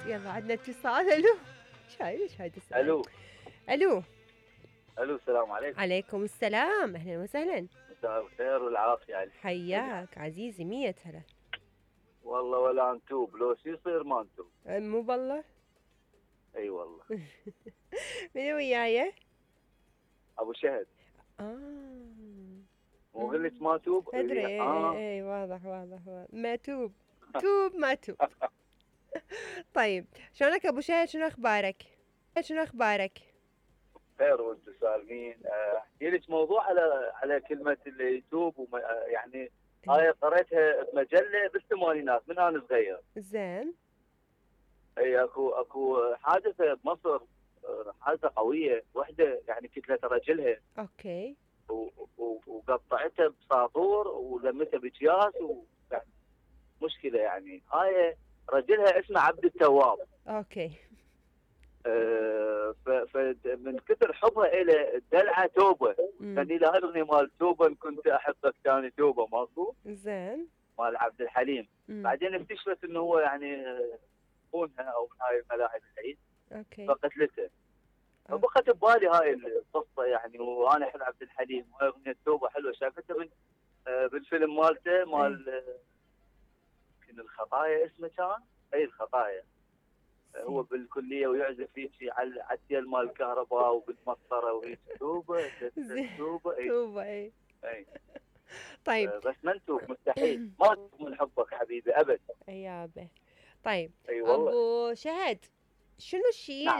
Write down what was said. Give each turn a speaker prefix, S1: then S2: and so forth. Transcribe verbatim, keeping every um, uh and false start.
S1: يلا عندنا اتصال. الو شايل ايش هاي السؤال؟
S2: الو
S1: الو
S2: الو السلام عليكم.
S1: عليكم السلام، اهلا وسهلا.
S2: مساء الخير والعافيه عليك.
S1: حياك عزيزي، مية هلا.
S2: والله ولا نتوب، لو شو يصير ما نتوب.
S1: مو بالله.
S2: اي والله.
S1: من وياي؟
S2: ابو شهد.
S1: اه
S2: مو قلت ما توب؟
S1: ادري.
S2: اي
S1: اي
S2: اه
S1: اي واضح واضح واضح. ما توب توب ما توب. طيب شلونك ابو شهد؟ شنو اخبارك؟ شنو اخبارك؟
S2: خير وانتم سالمين. آه، احكي لك موضوع على على كلمه اللي يتوب وما آه، يعني هاي قريتها بمجله بالثمانينات من انا صغير.
S1: زين.
S2: اي اكو اكو حادثه بمصر، آه، حادثه قويه، وحده يعني كتله رجلها
S1: اوكي.
S2: و- و- وقطعتها بساطور ولمتها باكياس، ويعني مشكله يعني. هاي رجلها اسمه عبد التواب.
S1: اوكي.
S2: آه، ف- فمن كثر حبها الى دلعه توبه،
S1: مم.
S2: كان لها الاغنيه مال توبه إن كنت احبك ثاني توبه ماكو
S1: زين.
S2: مال عبد الحليم.
S1: مم.
S2: بعدين اكتشفت انه هو يعني آه، خونها او من هاي الملاعب العيد
S1: اوكي.
S2: فقتلته.
S1: أوكي.
S2: فبقت ببالي هاي القصه يعني، وانا احب عبد الحليم وهاي اغنيه توبه حلوه، شافتها من آه، بالفيلم مالته مال آه، يمكن الخطايا اسمه كان. اي الخطايا. هو
S1: زين.
S2: بالكليه ويعزف هيك على على التيل مال الكهرباء وبالمسطره وهيك توبه
S1: زين.
S2: توبه. اي
S1: توبة اي.
S2: اي.
S1: طيب.
S2: آه، بس ما نتوب مستحيل، ما نتوب من حبك حبيبي ابد.
S1: يابا. طيب
S2: اي والله.
S1: ابو شهد، شنو الشيء
S2: نعم.